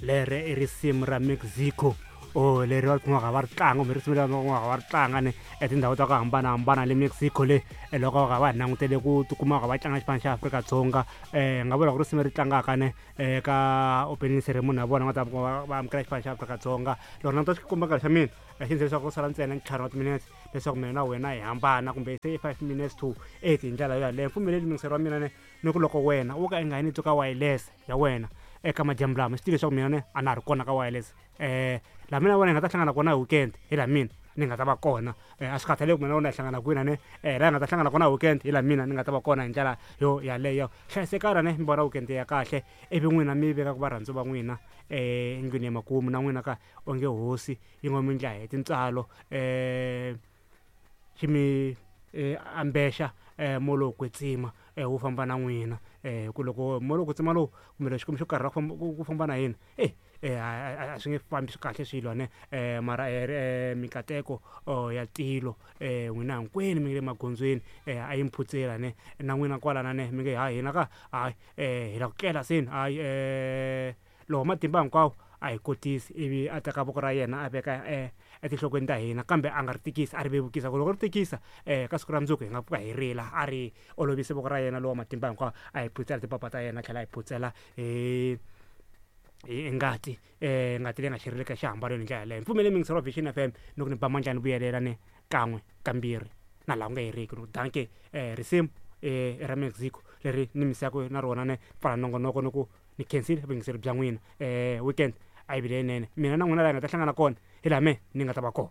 Lere i risimu ra Mexico o leri va kumaka va ri tlanga kumbe risimu leri va kumaka va ri tlanga ni etindhawu ta ku hambanahambana le Mexico le loko va va langutele ku tikuma va tlanga xipano xa Afrika-Dzonga. Nga vula ku risimu ri tlangaka ne eka opening ceremony ya vona va ta va amukela xipano xa Afrika-Dzonga. Loko languta xikomba nkarhi xa mina xi ndzi leswaku ku sala ntsena ntlhanu wa timinetse leswaku mina na wena hi hambana, kumbe se i 8:05 hi ndlela yo yaleyo. Mpfumeleli muyingiseri wa mina ne ni ku loko wena wo ka i nga yi ni twi ka wireless ya wena eka madyambu lama, swi tivi leswaku mina ne a na ha ri kona ka wireless. Laha mina na wena hi nga ta hlangana kona hi weekend hi laha mina ni nga ta va kona. A swi khathaleki mina na wena hi hlangana kwini ne laha hi nga ta hlangana kona hi weekend hi laha mina ni nga ta va kona hi ndlela yo yaleyo. Hlayisekana ne mi vona weekend ya kahle, ivi n'wina mi veka ku varhandziwa va n'wina endlwini ya makumu na n'wina ka onge hosi yi ngo mi ndla hi tintswalo, xi mi ambexa moya lowo kwetsima wu famba na n'wina. Hi ku loko moya lowo kwetsima lowu kumbe lexi Xikwembu xo karhi ku famba na hina e a swi nge fambi kahle swilo ne, mara mikateko ya tilo n'wina hinkwenu mi nge le magondzweni a yi mi phutsela ne, na n'wina kwalana ne mi nge ha hina ka hayi hi la ku tlela seni hayi lowa matimba hinkwawo a hi kotisi, ivi a teka voko ra yena a veka etinhlokweni ta hina, kambe a nga ri tikisi a ri vevukisa ku loko ri tikisa ka siku ra mundzuku hi nga pfuka hi rila. A ri olovise voko ra yena lowa matimba hinkwawo a hi phutsela timpapa ta yena, a tlhela a hi phutsela hi ngati, ngati leyi nga xereleka exihambanweni hi ndlela yaleyo. Mpfumele muyingiseri wa Vision FM ni ku ni ba mandla ni vuyelela ni kan'we kambirhi na laha ku nga heriki ni ku danke. Risimu i ra Mexico leri ni misaka na rona ni pfala nongonoko ni ku ni khensile vuyingiseri bya n'wina. Weekend a yi vi leyinene, mina na n'wina laha hi nga ta hlangana kona hi laha me ni nga ta va kona.